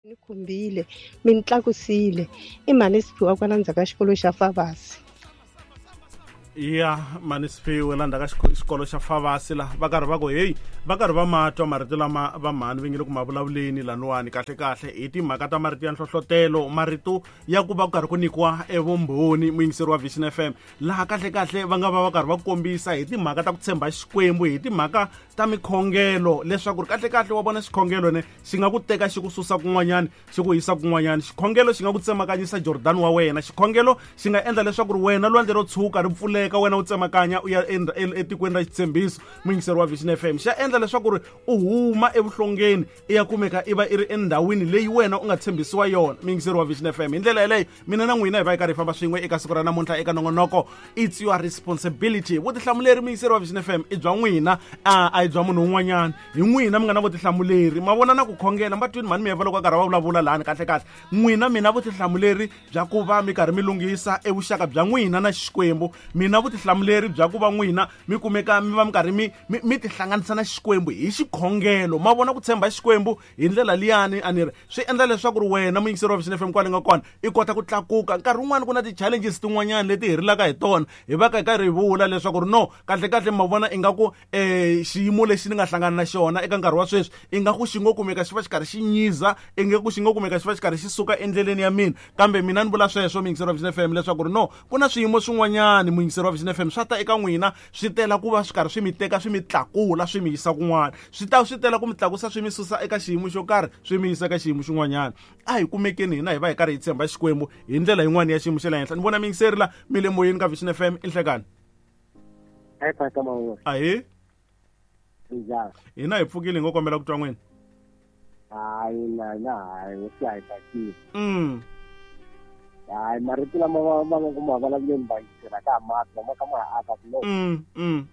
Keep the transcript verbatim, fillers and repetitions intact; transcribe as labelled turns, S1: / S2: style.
S1: Ni khumbile mi ni tlakusile i mhani Siphiwa kwala ndzhaku ka xikolo xa Favasi.
S2: Ya mhani Siphiwe la ndzhaku ka xikolo xa Favasi la va karhi va ku heyi va karhi va ma twa marito lama va mhani va nge le ku ma vulavuleni laniwani kahle kahle hi timhaka ta marito ya nhlohlotelo marito ya ku va ku karhi ku nyikiwa evumbhoni muyingiseri wa Vision F M laha kahle kahle va nga va va karhi va kombisa hi timhaka ta ku tshemba Xikwembu hi timhaka ta mikhongelo leswaku ri kahle kahle wa vona xikhongelo ne xi nga ku teka xi ku susa kun'wanyani xi ku yisa kun'wanyani xikhongelo xi nga ku tsemakanyisa Jordan wa wena xikhongelo xi nga endla leswaku ri wena lwandle ro tshuka ri pfuleka wena u tsemakanya u ya etikweni ra xitshembiso muyingiseri wa Vision F M xa endla leswaku ri u huma evuhlongeni i ya kumeka i va i ri endhawini leyi wena u nga tshembisiwa yona muyingiseri wa Vision F M hi ndlela yeleyo mina na n'wina hi va hi karhi hi famba swin'we eka siku ra namuntlha eka nongonoko it's your responsibility vutihlamuleri muyingiseri wa Vision F M i bya n'wina a a hi bya munhu un'wanyana hi n'wina mi nga na vutihlamuleri ma vona na ku khongela ma twini mhani mi heva loko a karhi va vulavula lahani kahle kahle n'wina mina vutihlamuleri bya ku va mi karhi mi lunghisa evuxaka bya n'wina na Xikwembu mina vutihlamuleri bya ku va n'wina mi kumeka mi va mi karhi mi mi tihlanganisa na Xikwembu hi xikhongelo ma vona ku tshemba Xikwembu hi ndlela liyani a ni ri swi endla leswaku ri wena muyingiseri wa Vision F M kwale nga kona i kota ku tlakuka nkarhi wun'wani ku na ti-challenges tin'wanyana leti hi rilaka hi tona hi va ka hi karhi hi vula leswaku ri no kahle kahle ma vona ingaku um xiyimo lexi ni nga hlangana na xona eka nkarhi wa sweswi ingaku xi ngo kumeka xi va xi karhi xi nyiza ingaku xi ngo kumeka xi va xi karhi xi suka endleleni ya mina kambe mina ni vula sweswo muyingiseri wa Vision F M leswaku ri no ku na swiyimo swin'wanyani muyingiseri wa Vision F M swa ta eka n'wina swi tela ku va swi karhi swi mi teka swi mi tlakula swi mi yisa kun'wana swi ta swi tela ku mi tlakusa swi mi susa eka xiyimo xo karhi swi mi yisa eka xiyimo xin'wanyana a hi kumekeni hina hi va hi karhi hi tshemba Xikwembu hi ndlela yin'wana ya xiyimo xa le henhla ni vona muyingiseri la mi le moyeni ka Vision F M i nhlekani ahee hina hi pfukile hi ngo kombela ku twa n'wina
S3: hayi na na hayi swi hi tsakile
S2: mm
S3: hayi marito lama va va nga ku ma vulavuleni va yingisela ka ha mati lama ka ma ha aka swinene
S2: mm mm